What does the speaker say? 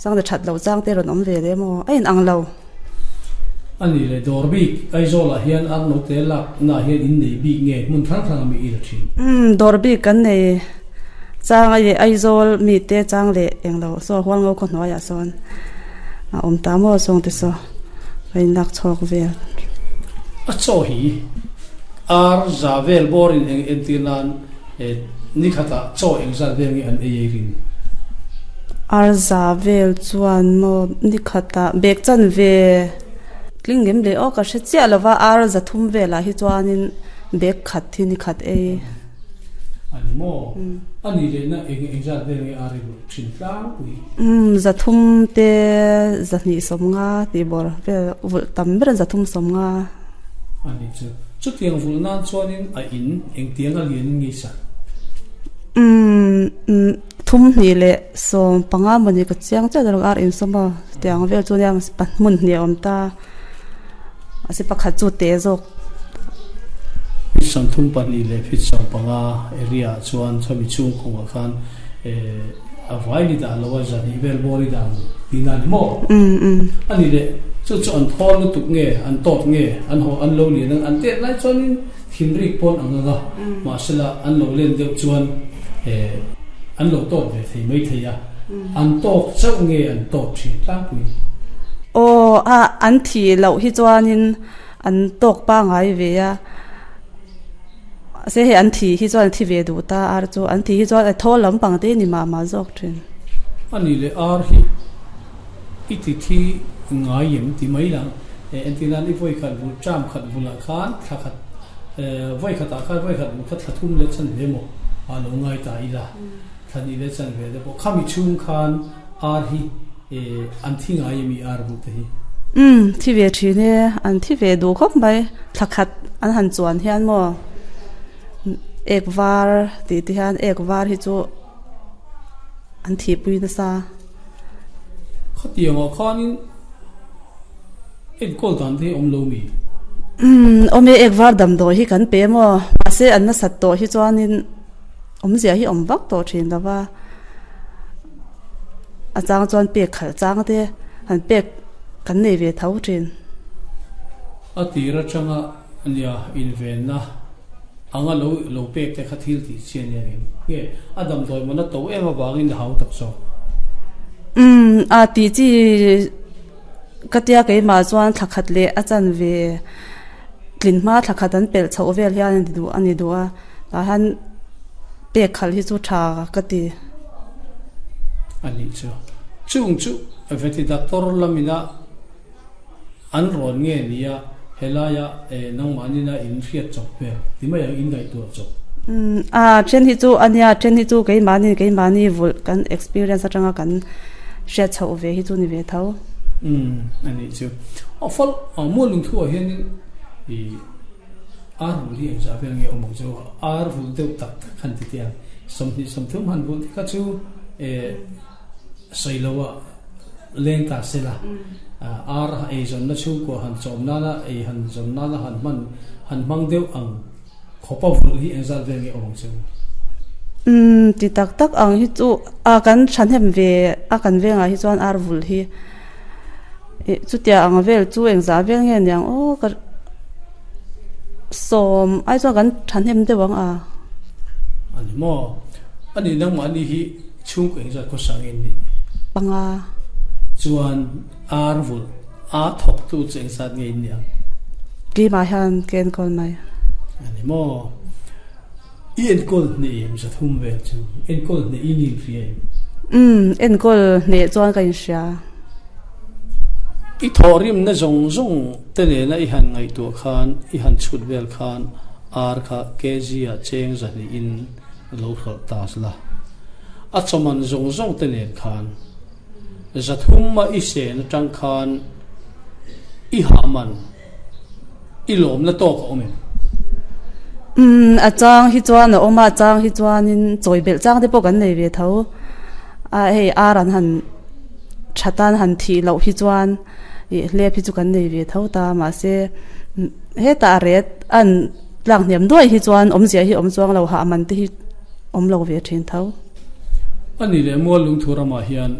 Chang leh that loh chang te rawn awm ve leh maw a in ang lo. A nih leh dawr bik Aizawl ah hian ar note lak na ah hian in nei bik nge hmun hrang hrang a mi i la thin? Umm dawr bik kan nei chang a i Aizawl mi te chang leh eng lo saw Hualngo khaw hnuai ah sawn a awm ta maw sawng te saw ka in lak chhawk vel. A chaw hi ar za vel bawr in eng entir nan Ni khatah chaw engzat vel nge an ei ei ring? Arza vel chuan maw ni khatah bag chan ve tling ngem leh aw ka hre chiah lo va, arza thum velah hi chuanin bag khat hi ni khat ei. A ni maw? A nih lehna eng engzat vel nge ar i rulh thin tlangpui? Umm zathum te zahnih sawmnga tih bawr vel vulh tam ber zathum sawmnga. A ni chu. Chutiang vulh nan chuanin a in engtiang a lian in nge sa? Umm thum hnih leh 15 mawni ka chiang chiah zawk ar insawm a tiang vel chu nia hmun hnih a awm ta a si pakhat chu te zawk. Feet 32 leh feet 15 area ah chuan chumi chhung kawngah khan a vai ni dah lo a zahnih vel bawr i dan tihna a ni maw? A ni leh, chu chu an thawl lutuk nge, an tawt nge, an haw an lo lian ang, an tet lai chuanin thinrik pawn ang ang a, mahsela an lo len deuh chuan an lo tawt ve thei mai thei a, an tawk chauh nge an tawt thin tlangpui? Aw, a an thih loh hi chuanin an tawk pangai ve a. Mahse hei an thi hi chuan a thi ve duh ta ar chu an thi hi chuan a thawl lampang te ni mah mah zawk thin. A nih leh ar hi i ti thi ngai em ti mai lang e entir nan i vawi khat vul term khat vulah khan thla khat vawi khatah khan vawi khat vul kha thla thum leh chan ve maw a lo ngai ta ila thla hnih leh chan ve te pawh khami chhung khan ar hi an thi ngai em i ar vul te hi. Umm thi ve thin e, an thi ve duh khawp mai, thla khat an han chuan hian maw ek var tih te hian ek var hi chu an thihpui nasa. Khatiangah khanin enkawl dan te hi awm lo mi? Umm awm e, ek var damdawi hi kan pe maw, mahse an nasat tawh hi chuanin awmzia hi awm vak tawh thin lo va. A chang chuan pek khalh chang te han pek kan nei ve tho thin. A tir atanga nia invenna anga lo lo pek te kha thil tih chi a nia ngem nge a damdawi man a to em avangin a hau tak zawk. Umm a tih chi ka tia keimah chuan thla khat leh a chan ve tlin hma thla khat an pelh chhoh vel hian a ni duh a. Tah hian pek khalh hi chu tha ka ti. A nih chu. Chung chu veti doctor lamina an rawn nge nia helaia nangmahnina in hriat chawp hmel ti mai ang in ngaihtuah chawp. Umm a then hi chu a nia then hi chu keimahni keimahni vulh kan experience atanga kan hriat chhoh ve hi chu ni ve tho. Umm a nih chu. A fal a mual lungthu ah hianin i. Ar vul hi engzah vel nge awm ang chu? Ar vul deuh tak tak han ti teh ang. 20 30 han vul te kha chu eh sawi lo a leng ta se la. Ar ei zawnna chhungkua han chawm nana ei han zawn nana han hman han hmang deuh ang khawpa vul hi engzat vel nge awm ang chu? Umm ti tak tak ang hi chu a kan thahnem ve a kan vengah hi chuan ar vul hi ih chutia ang vel chu engzah vel nge niang aw ka. Sawm ai chuan kan thahnem deuh ang a. A ni maw? A nih nangmahni hi chhungkaw engzat khawsa nge nih? Panga. Chuan ar vulh a thawktu chu engzat nge in nih ang? Keimah hian ka enkawl mai. A ni maw? I enkawl hneh em 300 vel chu? Enkawl hneh in inhria em? Umm, enkawl hneh chuan ka inhria. I thawhrimna zawng zawng te nena i han ngaihtuah khan, i han chhut vel khan ar kha kg ah cheng 200 in lo hralh ta la. A chawman zawng zawng te nen khan 300 a i sen atang khan i hahman I lawmna tawk a awm em? Umm, a chang hi chuan a awm a, a chang hi chuanin chawi belh chang te pawh kan nei ve tho. A hei ar an han tha tan han thih loh hi chuan ih hlep hi chu kan nei ve tho ta mahse hetah a ret an tlak hniam duai hi chuan awmzia hi awm chuang lo hah man te hi awm lo ve thin tho. A ni leh mual lungthu ramah hian.